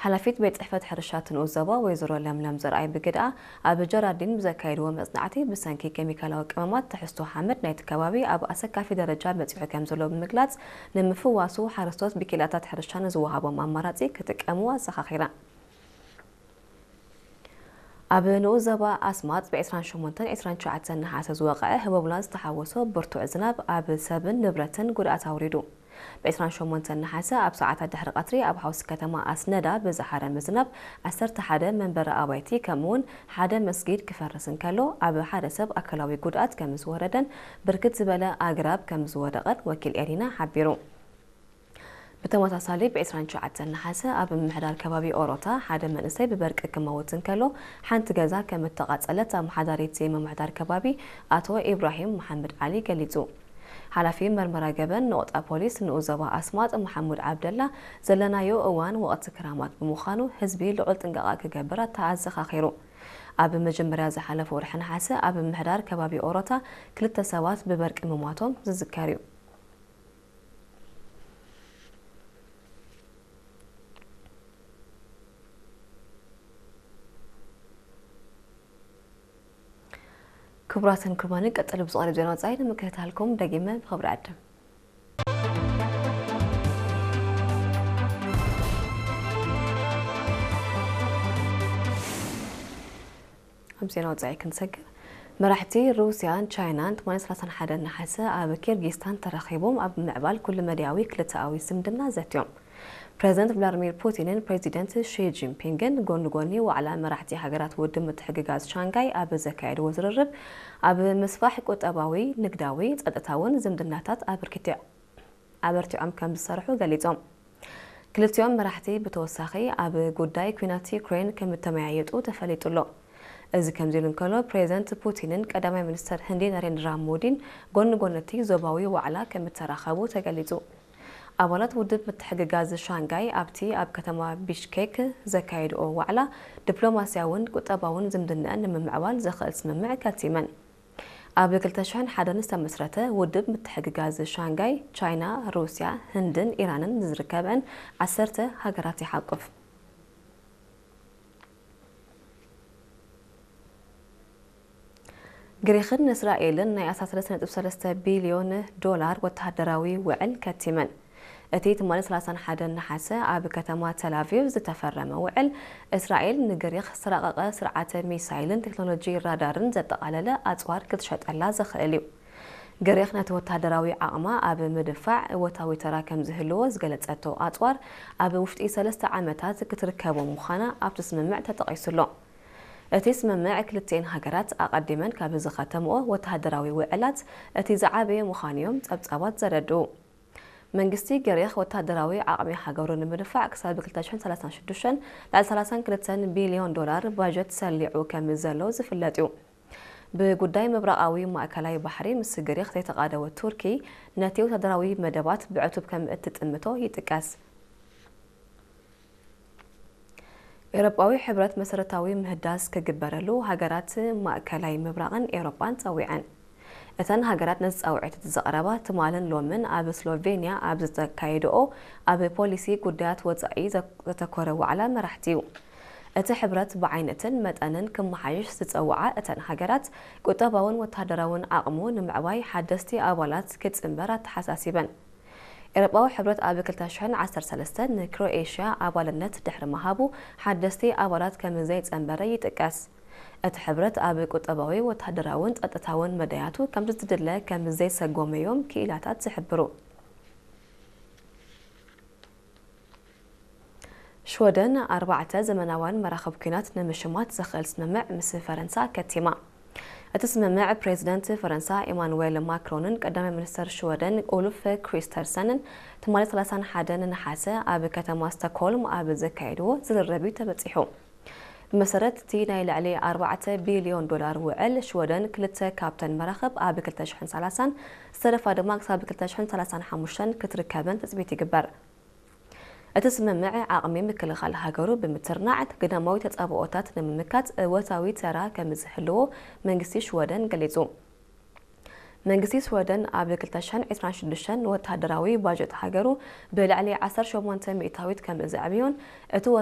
ሓላፊት ቤት ጽሕፈት ሕርሻ ትንኡ ዞባ ወይዘሮ ለምለም ዘርኣይ ብግድኣ፣ ኣብ ጀራዲን ብዘካየድዎ መጽናዕቲ፣ ብሰንኪ ኬሚካላዊ ቀመማት ትሕዝቶ ሓመድ ናይቲ ከባቢ ኣብ ኣሰካፊ ደረጃ በጺሑ ከም ዘሎ ብምግላጽ፣ ንምፍዋሱ ሓረስቶት ብኪላታት ሕርሻ ንዝወሃቦም ኣማራጺ ክጥቀሙ ኣዘኻኺራ። ኣብ ንኡስ ዞባ ኣስማጥ ብ ዕስራን ሸሞንተን ዕስራን ትሽዓተን ነሓሰ ዝወቕዐ ህቦብላ ዝተሓወሶ ብርቱዕ ዝናብ ኣብ ሰብን ንብረትን ጉድኣት ኣውሪዱ። ብ ዕስራን ሸሞንተን ነሓሰ ኣብ ሰዓታት ድሕሪ ቀትሪ ኣብ ሓውሲ ከተማ ኣስነዳ ብዝሓረመ ዝናብ ዓሰርተ ሓደ መንበሪ ኣባይቲ ከምኡውን ሓደ መስጊድ ክፈርስ እንከሎ፣ ኣብ ሓደ ሰብ ኣካላዊ ጉድኣት ከም ዝወረደን ብርክት ዝበለ ኣግራብ ከም ዝወደቐን ወኪል ኤሪና ሓቢሩ። ብተመሳሳሊ ብ ዕስራን ትሽዓተን ነሓሰ ኣብ ምምሕዳር ከባቢ ኦሮታ ሓደ መንእሰይ ብበርቂ ክመውት እንከሎ፣ ሓንቲ ገዛ ከም እተቓጸለት ኣመሓዳሪ እቲ ምምሕዳር ከባቢ ኣቶ ኢብራሂም መሓመድ ዓሊ ገሊጹ። ሓላፊ መርመራ ገበን ነቑጣ ፖሊስ ንኡስ ዞባ ኣስማጥ መሓሙድ ዓብደላ፣ ዘለናዮ እዋን ወቕቲ ክራማት ብምዃኑ ህዝቢ ልዑል ጥንቃቐ ክገብር ኣተኣዘኻኺሩ። ኣብ መጀመርያ ዝሓለፈ ወርሒ ነሓሰ ኣብ ምምሕዳር ከባቢ ኦሮታ ክልተ ሰባት ብበርቂ ምሟቶም ዝዝከር እዩ። ክቡራትን ክቡራንን፣ ቀጥሎ ብዝቐርብ ዜና ወጻኢ ንምክትታልኩም ደጊመ ብኽብሪ ዕድም። ኣብ ዜና ወጻኢ ክንሰግር፣ መራሕቲ ሩስያን ቻይናን ትማሊ ሰላሳን ሓደን ነሓሰ ኣብ ኪርጊስታን ተራኺቦም ኣብ ምምዕባል ኩሉ መዳያዊ ክልተኣዊ ዝምድና ዘትዮም። ፕሬዚደንት ቭላድሚር ፑቲንን ፕሬዚደንት ሺ ጂንፒንግን ጎኒ ጎኒ ዋዕላ መራሕቲ ሃገራት ውድብ ምትሕግጋዝ ሻንጋይ ኣብ ዘካየድዎ ዝርርብ፣ ኣብ ምስፋሕ ቁጠባዊ፣ ንግዳዊ፣ ጸጥታውን ዝምድናታት ኣበርኪቲ-፣ ኣበርቲዖም ከም ዝሰርሑ ገሊጾም። ክልቲኦም መራሕቲ ብተወሳኺ ኣብ ጉዳይ ኲናት ዩክሬን ከም እተመያየጡ ተፈሊጡ ኣሎ። እዚ ከምዚ ኢሉ እንከሎ፣ ፕሬዚደንት ፑቲንን ቀዳማይ ሚኒስተር ህንዲ ናሬንድራ ሞዲን ጎኒ ጎኒ እቲ ዞባዊ ዋዕላ ከም እተራኸቡ ተገሊጹ። ኣባላት ውድብ ምትሕግጋዝ ሻንጋይ ኣብቲ ኣብ ከተማ ቢሽኬክ ዘካየድኦ ዋዕላ፣ ዲፕሎማስያውን ቁጠባውን ዝምድናኣን ንምምዕባል ዘኽእል ስምምዕ ከቲመን። ኣብ ክልተ ሽሕን ሓደን ዝተመስረተ ውድብ ምትሕግጋዝ ሻንጋይ፣ ቻይና፣ ሩስያ፣ ህንድን ኢራንን ዝርከበን ዓሰርተ ሃገራት ይሓቁፍ። ግሪኽን እስራኤልን ናይ ኣስታት ሰለስተ ነጥቢ ሰለስተ ቢልዮን ዶላር ወተሃደራዊ ውዕል ከቲመን። እቲ ትማሊ ሰላሳን ሓደን ነሓሰ ኣብ ከተማ ተል ኣቪቭ ዝተፈረመ ውዕል፣ እስራኤል ንግሪኽ ዝተራቐቐ ስርዓተ ሚሳይልን ቴክኖሎጂ ራዳርን ዘጠቓለለ ኣጽዋር ክትሸጠላ ዘኽእል እዩ። ግሪኽ ነቲ ወተሃደራዊ ዓቕማ ኣብ ምድንፋዕ እወታዊ ተራ ከም ዝህልዎ ዝገለጸቶ ኣጽዋር፣ ኣብ ውሽጢ ሰለስተ ዓመታት ክትርከቦ ምዃና ኣብቲ ስምምዕ ተጠቒሱ ኣሎ። እቲ ስምምዕ ክልቲኤን ሃገራት ኣቐዲመን ካብ ዝኸተምኦ ወተሃደራዊ ውዕላት እቲ ዝዓበየ ምዃኑ እዮም ጸብጻባት ዘረድኡ። መንግስቲ ግሪኽ ወተሃደራዊ ዓቕሚ ሃገሩ ንምድንፋዕ ክሳብ ክልተ ሽሕን ሰላሳን ሽዱሽተን ልዕሊ ሰላሳን ክልተን ቢልዮን ዶላር ባጀት ሰሊዑ ከም ዘሎ ዝፍለጥ እዩ። ብጉዳይ ምብራቓዊ ማእከላይ ባሕሪ ምስ ግሪኽ ዘይተቓደወት ቱርኪ ነቲ ወተሃደራዊ መደባት ብዕቱብ ከም እትጥምቶ ይጥቀስ። ኤውሮጳዊ ሕብረት መሰረታዊ ምህዳስ ክግበረሉ ሃገራት ማእከላይ ምብራቕን ኤውሮጳን ጸዊዐን። እተን ሃገራት ነዚ ጻውዒት ዘቕረባ ትማልን ሎምን ኣብ ስሎቬንያ ኣብ ዝተካየድኦ ኣብ ፖሊሲ ጉዳያት ወጻኢ ዘተኮረ ዋዕላ መራሕቲ እዩ። እቲ ሕብረት ብዓይነትን መጠንን ክመሓየሽ ዝጸውዓ እተን ሃገራት፣ ቁጠባውን ወተሃደራውን ዓቕሙ ንምዕባይ ሓደስቲ ኣባላት ክጽንበር ኣተሓሳሲበን። ኤውሮጳዊ ሕብረት ኣብ ክልተ ሽሕን ዓሰርተ ሰለስተን ንክሮኤሽያ ኣባልነት ድሕሪ ምሃቡ፣ ሓደስቲ ኣባላት ከም ዘይጸንበረ ይጥቀስ። እቲ ሕብረት ኣብ ቁጠባዊ፣ ወተሃደራውን ጸጥታውን መዳያቱ ከም ዝድለ ከም ዘይሰጎመ እዮም ክኢላታት ዝሕብሩ። ሽወደን ኣርባዕተ ዘመናውያን መራኽብ ኲናት ንምሽማት ዘኽእል ስምምዕ ምስ ፈረንሳ ከቲማ። እቲ ስምምዕ ፕሬዚደንት ፈረንሳ ኢማኑዌል ማክሮንን ቀዳማይ ሚኒስተር ሽወደን ኡልፍ ክሪስተርሰንን ትማሊ ሰላሳን ሓደን ነሓሰ ኣብ ከተማ ስቶክሆልም ኣብ ዘካየድዎ ዝርርብ እዩ ተበጺሑ። ብመሰረት እቲ ናይ ልዕሊ ኣርባዕተ ቢልዮን ዶላር ውዕል፣ ሽወደን ክልተ ካብተን መራኽብ ኣብ ክልተ ሽሕን ሰላሳን፣ ዝተረፋ ድማ ክሳብ ክልተ ሽሕን ሰላሳን ሓሙሽተን ክትርከበን ትጽቢት ይግበር። እቲ ስምምዕ ዓቕሚ ምክልኻል ሃገሩ ብምትርናዕ፣ ግዳማዊ ተጻብኦታት ንምምካት እወታዊ ተራ ከም ዝህልዎ መንግስቲ ሽወደን ገሊጹ። መንግስቲ ሽወደን ኣብ ክልተ ሽሕን ዕስራን ሽዱሽተን ንወተሃደራዊ ባጀት ሃገሩ ብልዕሊ ዓሰርተ ሸሞንተ ሚእታዊት ከም ዘዕብዮን፣ እቲ ወሰን